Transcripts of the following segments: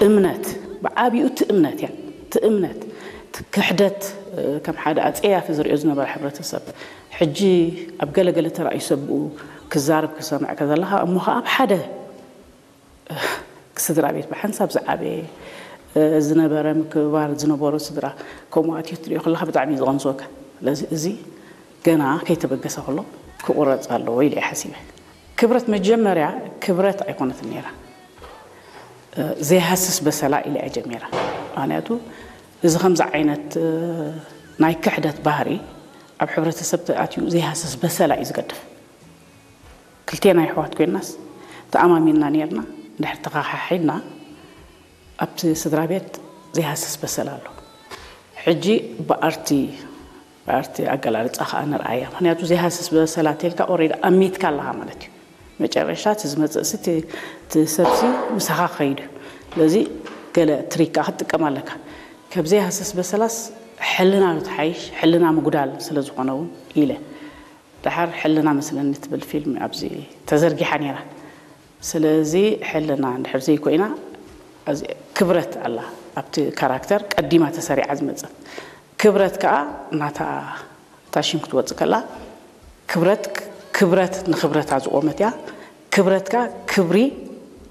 እምነት፣ ብዓቢኡ እቲ እምነት እያ። እቲ እምነት፣ እቲ ክሕደት፣ እ፣ ከም ሓደ ኣጸያፊ ዝርእዮ ዝነበረ ሕብረተሰብ፣ ሕጂ ኣብ ገለገለ ተራእዩ ሰብኡ ክዛረብ ክሰምዕ ከዘለኻ፣ እሞ ኸዓ ኣብ ሓደ፣ እ፣ ስድራ ቤት ብሓንሳብ ዝዓበየ፣ እ፣ ዝነበረ ምክብባር ዝነበሮ ስድራ ከምኡ ኣትዮ ትሪኦ ከለኻ ብጣዕሚ እዩ ዝቐንዝወካ። ስለዚ እዚ ገና ከይተበገሰ ከሎ ክቑረጽ ኣለዎ ኢለ እየ ሓሲበ። ክብረት መጀመርያ ክብረት ኣይኮነትን ነይራ። እ፣ ዘይሃስስ በሰላ ኢለ እያ ጀሚራ። ምኽንያቱ እዚ ከምዚ ዓይነት፣ እ፣ ናይ ክሕደት ባህሪ ኣብ ሕብረተሰብ ተኣትዩ ዘይሃስስ በሰላ እዩ ዝገድፍ። ክልቴና ኣሕዋት ኮይንናስ ተኣማሚንና ነይርና፣ እንድሕር ተኸሓሒድና ኣብቲ ስድራ ቤት ዘይሃስስ በሰላ ኣሎ። ሕጂ ብኣርቲ፣ ብኣርቲ ኣገላልጻ ከኣ ንርኣያ። ምኽንያቱ ዘይሃስስ በሰላ ተልካ ኦሬዲ ኣሚትካ ኣለኻ ማለት እዩ። መጨረሻ እቲ ዝመጽእ ሲ እቲ፣ እቲ ሰብሲ ምሳኻ ክኸይድ እዩ። ስለዚ ገለ ትሪክ ከኣ ክትጥቀም ኣለካ። ካብ ዘይሃስስ በሰላስ ሕልና ዶ ትሓይሽ፣ ሕልና ምጉዳል ስለ ዝኾነ እውን ኢለ። ደሓር ሕልና መስለኒ ትብል ፊልም ኣብዚ ተዘርጊሓ ነይራ። ስለዚ ሕልና እንድሕር ዘይኮይና፣ እዚ ክብረት ኣላ ኣብቲ ካራክተር ቀዲማ ተሰሪዓ ዝመጸት። ክብረት ከኣ ናታ እታ ሽም ክትወጽእ ከላ፣ ክብረት፣ ክብረት ንኽብረታ ዝቖመት እያ። ክብረት ከኣ ክብሪ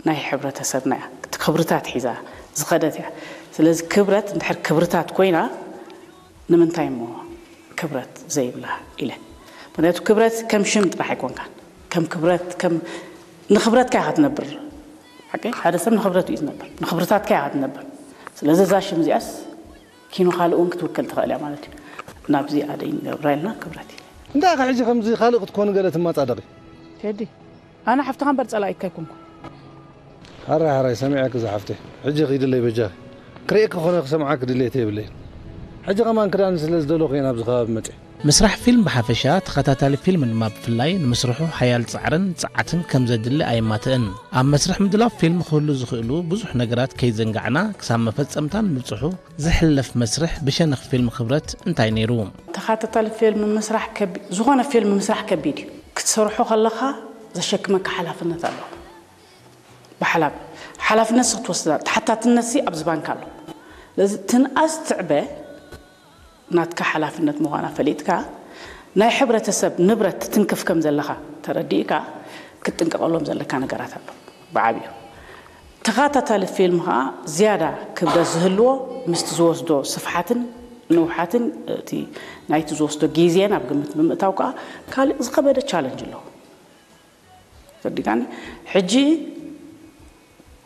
ናይ ሕብረተሰብና እያ። እቲ ክብርታት ሒዛ ዝኸደት እያ። ስለዚ ክብረት እንድሕር ክብርታት ኮይና፣ ንምንታይ እሞ ክብረት ዘይብላ ኢለ። ምኽንያቱ ክብረት ከም ሽም ጥራሕ ኣይኮንካን። ከም ክብረት፣ ከም ንኽብረትካ ኢኻ ትነብር። ሓቀይ? ሓደ ሰብ ንኽብረቱ እዩ ዝነብር። ንኽብርታትካ ኢኻ ትነብር። ስለዚ እዛ ሽም እዚኣስ ኪኖ ካልእ እውን ክትውክል ትኽእል እያ ማለት እዩ። ናብዚ ኣደ ይንገብራ ኢልና ክብረት ኢለ። እንታይ ኢኻ ሕጂ ከምዚ ካልእ ክትኮኒ ገለ ትመጻደቒ? ቴዲ፣ ኣነ ሓፍትኻ እምበር ጸላኢካ ኣይኮንኩን። ሓራይ ሓራይ ሰሚዐኪ ዝሓፍተይ። ሕጂ ኺድለይ በጃኺ። ክርእየኪ ኮነ ክሰምዓኪ ድሌት የብለይን። ሕጂ ከማን ክዳን ስለ ዝደለኹ እየ ናብዚ ከባቢ መጺአ። ምስራሕ ፊልም ብሓፈሻ፣ ተኸታታሊ ፊልም ድማ ብፍላይ፣ ንምስርሑ ሓያል ጻዕርን ጽዓትን ከም ዘድሊ ኣየማትእን። ኣብ መስርሕ ምድላው ፊልም ክህሉ ዝኽእሉ ብዙሕ ነገራት ከይዘንጋዕና፣ ክሳብ መፈጸምታ ንምብጽሑ ዝሕለፍ መስርሕ ብሸነኽ ፊልም ክብረት እንታይ ነይሩ? ተኸታታሊ ፊልም ምስራሕ ከቢ-፣ ዝኾነ ፊልም ምስራሕ ከቢድ እዩ። ክትሰርሖ ከለኻ ዘሸክመካ ሓላፍነት ኣሎ። ብሓላፍ-፣ ሓላፍነት ንስኻ ትወስዳ፣ ተሓታትነት ሲ ኣብዚ ባንክ ኣሎ። ስለዚ ትንኣስ ትዕበ ናትካ ሓላፍነት ምዃና ፈሊጥካ፣ ናይ ሕብረተሰብ ንብረት ትትንክፍ ከም ዘለኻ ተረዲእካ፣ ክትጥንቀቐሎም ዘለካ ነገራት ኣሎ ብዓብዩ። ተኸታታሊ ፊልም ኸዓ ዝያዳ ክብደት ዝህልዎ ምስቲ ዝወስዶ ስፍሓትን ንውሓትን እቲ ናይቲ ዝወስዶ ግዜን ኣብ ግምት ብምእታው ከኣ ካልእ ዝኸበደ ቻለንጅ ኣለዎ። ተረዲእካኒ? ሕጂ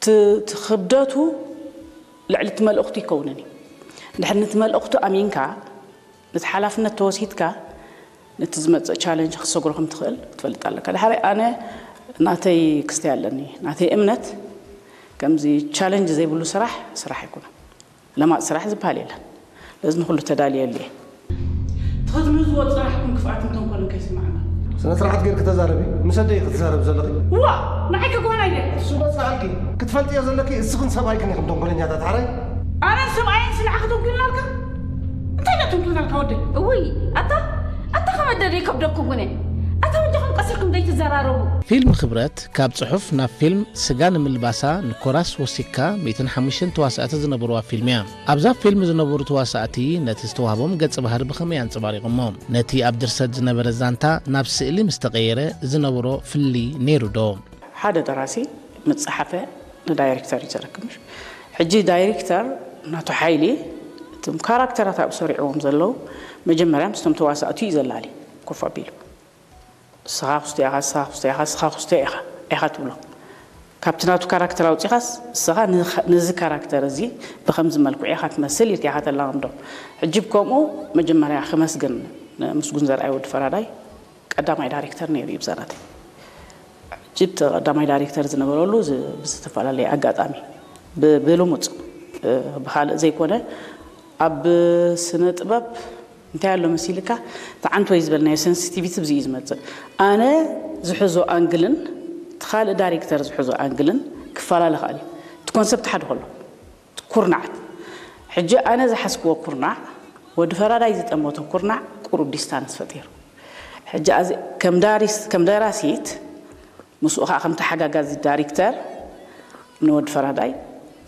ት-፣ እቲ ክብደቱ ልዕሊ እቲ መልእኽቱ ይከውንን እዩ። እንድሕር ነቲ መልእኽቱ ኣሚንካ፣ ነቲ ሓላፍነት ተወሲድካ፣ ነቲ ዝመጽእ ቻለንጅ ክትሰግሮ ከም ትኽእል ክትፈልጥ ኣለካ። ድሓረይ ኣነ ናተይ ክስተይ ኣለኒ፣ ናተይ እምነት ከምዚ ቻለንጅ ዘይብሉ ስራሕ፣ ስራሕ ኣይኮነን። ለማጽ ስራሕ ዝበሃል የለን። ለዚ ንኹሉ ተዳልየሉ እየ። ተዝምህዝዎ ጽናሕኩም ክፍኣትን ተንኮልን ከይስማዕና። ስነ ስርዓት ጌርኪ ተዛረቢ። ምስ ኣደይ ክትዛረብ ዘለኺ። ዋ! ንዓይ ከጓና ኢለ። እሱ በጽሓልኪ። ክትፈልጥዮ ዘለኪ እስኽን ሰብኣይክን ኢኹም ተንኮለኛታት ሓራይ። ኣነን ሰብኣየን ስንዓ ከተንኩልናልካ? እንታይ ኢና ተንኩልናልካ ወደይ? እውይ፣ ኣታ፣ ኣታ ከመደደ ይከብደኩም ግነ። ኣታ በጃኹም ቀስ ኢልኩም ዘይትዘራረቡ። ፊልም ክብረት ካብ ጽሑፍ ናብ ፊልም ስጋ ንምልባሳ ንኮራስ ወሲክካ ሚእትን ሓሙሽተን ተዋሳእቲ ዝነበርዋ ፊልም እያ። ኣብዛ ፊልም ዝነበሩ ተዋሳእቲ ነቲ ዝተዋህቦም ገጸ ባህሪ ብኸመይ ኣንጸባሪቖሞ? ነቲ ኣብ ድርሰት ዝነበረ ዛንታ ናብ ስእሊ ምስ ተቐየረ ዝነበሮ ፍልልይ ነይሩ ዶ? ሓደ ደራሲ ምስ ጸሓፈ ንዳይሬክተር እዩ ዘረክብ። ምሽ ሕጂ ዳይሬክተር ናቱ ሓይሊ እቶም ካራክተራት ኣብኡ ሰሪዕዎም ዘለዉ መጀመርያ ምስቶም ተዋሳእቲ እዩ ዘላሊ ኮፍ ኣቢሉ። ንስኻ ክስቶ ኢኻ፣ ንስኻ ክስቶ ኢኻ፣ ንስኻ ክስቶ ኢኻ፣ ኢኻ ትብሎ። ካብቲ ናቱ ካራክተር ኣውጺኻስ፣ ንስኻ ንኸ-፣ ነዚ ካራክተር እዚ ብኸምዚ መልክዑ ኢኻ ትመስል ኢልካ ኢኻ ተላማምዶ። ሕጂ ብከምኡ መጀመርያ ክመስግን ንምስጉን ዘርኣይ ወዲ ፈራዳይ ቀዳማይ ዳይሬክተር ነይሩ እዩ ብዛናተይ። ሕጂ እቲ ቀዳማይ ዳይሬክተር ዝነበረሉ ዝ-፣ ብዝተፈላለየ ኣጋጣሚ፣ ብ-፣ ብልሙጽ፣ እ፣ ብኻልእ ዘይኮነ፣ ኣብ ስነ ጥበብ እንታይ ኣሎ መሲልካ፣ እቲ ዓንት ወይ ዝበልናዮ ሰንሲቲቪቲ ብዚ እዩ ዝመጽእ። ኣነ ዝሕዞ ኣንግልን እቲ ካልእ ዳይሬክተር ዝሕዞ ኣንግልን ክፈላለ ይኽእል እዩ። እቲ ኮንሰፕት ሓደ ከሎ፣ እቲ ኩርናዓት። ሕጂ ኣነ ዝሓዝክዎ ኩርናዕ፣ ወዲ ፈራዳይ ዝጠመቶ ኩርናዕ ቁሩብ ዲስታንስ ፈጢሩ። ሕጂ ኣዚ-፣ ከም ዳሪስ-፣ ከም ደራሲት፣ ምስኡ ኸዓ ከም ተሓጋጋዚ ዳይሬክተር ንወዲ ፈራዳይ